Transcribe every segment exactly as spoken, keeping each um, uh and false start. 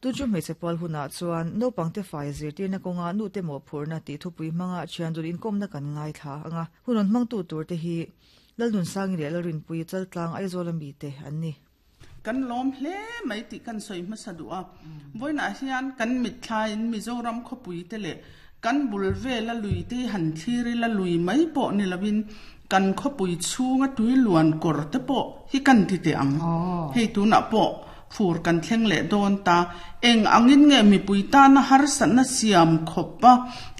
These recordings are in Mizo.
Tu chu hmeichhe pual hunah chuan naupangte fai zirtirna kawnga nute mawhphurhna tih thupui hmanga thian dun inkawmna kan ngaithla anga hun rawn hmangtu tur te hi Lalnunsangi leh Lalrinpuii Chaltlang Aizawl ami te an ni. Kan lawm hle mai tih kan sawi hmasa duh a, vawiinah hian kan mitthlaiin Mizoram khawpui te leh kan bul vela lui te hi han thlir ila lui mai pawh ni lovin kan khawpui chhunga tui luan kawr te pawh hi kan ti teh ang. Hei tunah pawh fur kan thleng leh dawn ta. Eng angin nge mipui tana harsatna siam khawp a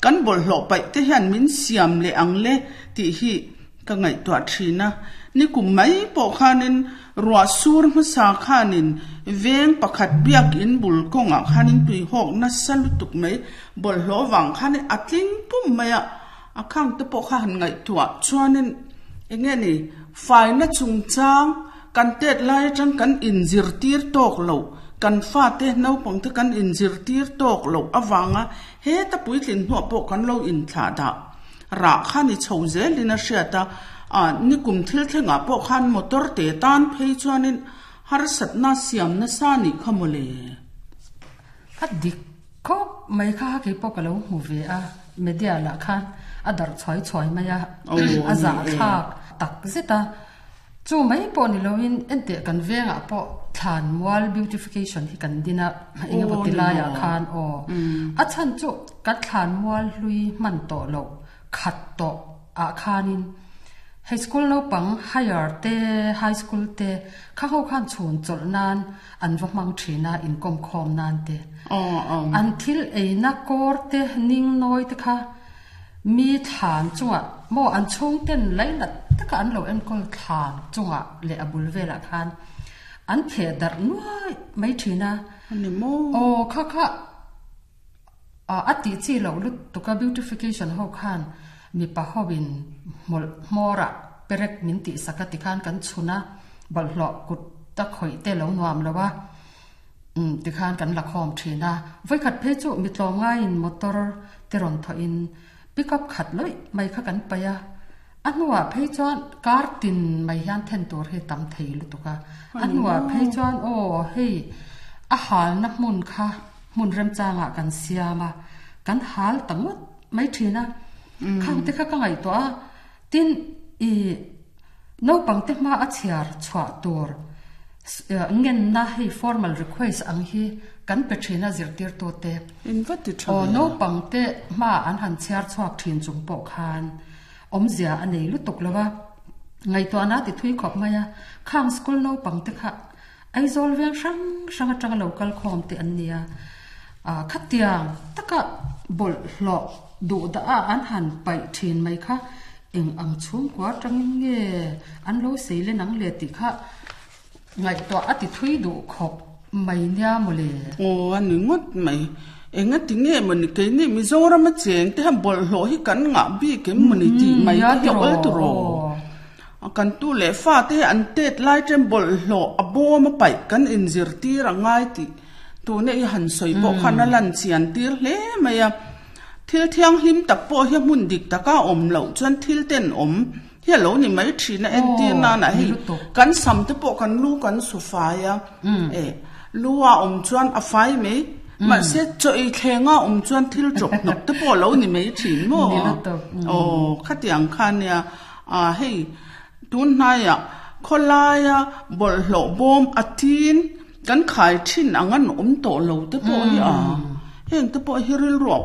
kan bawlhhlawh paih te hian min siam leh ang le tih hi ka ngaihtuah thin a. Nikum mai pawh khanin ruah sur hmasa khanin veng pakhat biakin bul kawngah khanin tuihawk nasa lutuk mai bawlhhlawh vang khanin a tling pum mai a, a khang te pawh kha han ngaihtuah chuanin eng nge ni faina chungchang kan tet lai atang kan inzirtir tawk loh, kan fate naupangte kan inzirtir tawk loh avanga heta puitlin hnuah pawh kan lo inthlah dah rah kha ni chho zelin a hriat a, a nikum thil thlengah pawh khan motor te tan phei chuanin harsatna siam nasa nih kha mawle. A dik khawp mai kha kei pawh ka lo hmu ve a, media lah khan a darh chhuai chhuai mai a, a zahthlak tak zet a. Chu mai pawh ni loin enteh kan vengah pawh thlan mual beautification hi kan din a, eng emaw ti laiah khan aw. A chhan chu kan thlan mual hlui hman tawh loh khat tawh ah khanin high school naupang higher te high school te kha ho khan chhun chawlh nan an va hmang thin a inkawm khawm nan te. An thil eina kawr te ning nawi te kha mi thlan chungah maw an chhungten lainat taka an lo enkawl thlan chungah leh a bul velah khan an theh darh nuai mai thin a. Aw kha kha a tih chi loh lutuk a beautification ho khan mipa hoin hmawlh hmawrah perek min tih sak a ti khan kan chhun a, bawlhhlawh kut ta khawih te lo nuam lo a umm tikhan kan la khawm thin a. Vawikhat phei chu mi tlawmngaiin motor te rawn thawhin pickup khat lawih mai kha kan paih a, a hnuah phei chuan kar tin mai hian then tur hi tam thei lutuk a, a hnuah phei chuan aw hei a halna hmun kha hmun remchangah kan siam a, kan hal ta ngawt mai thin a, khang te kha ka ngaihtuah a, tin i naupangte hma a chhiar chhuah tur ngenna hei formal request ang hi kan pe thin a zirtirtute. In va ti tha Aw ve. Naupangte hma an han chhiar chhuak thin chung pawh khan awmzia a nei lutuk lo a, ngaihtuahna ti thui khawp mai a, khang school naupangte kha Aizawl veng hrang hrang atanga lo kal khawm te an nia, khatiang taka bawlhhlawh duh dah a an han paih thin mai kha eng ang chhungkua atangin nge an lo sei len ang le tih kha ngaihtuah a ti thui duh khawp mai nia mawle. Aw a ni ngawt mai. Enga ti nge mawni keini Mizoram a cheng te hian bawlhhlawh hi kan ngah bik em mawni tih mai te hi a awl tur aw. Kan tu leh fa te hi an tet lai chen bawlhhlawh a bawm a paih kan inzirtir a ngai tih tuna i han sawi pawh khan a lan chian tir hle mai a. Thil thianghlim tak pawh hi hmun dik taka awm loh chuan thil ten awm hi a lo ni mai thin a, entir nana hei kan sam te pawh kan lu kan su fai a, e lu a awm chuan a fai mai, mahse chaw ei thleng a awm chuan thil chawp hnawk te pawh a lo ni mai thin maw? Aw khatiang kha nia, a hei tun hnaiah khawlaia bawlhhlawh bawm a tin kan khai thin ang an awm tawh lo te pawh hi a, heng te pawh hi rilru a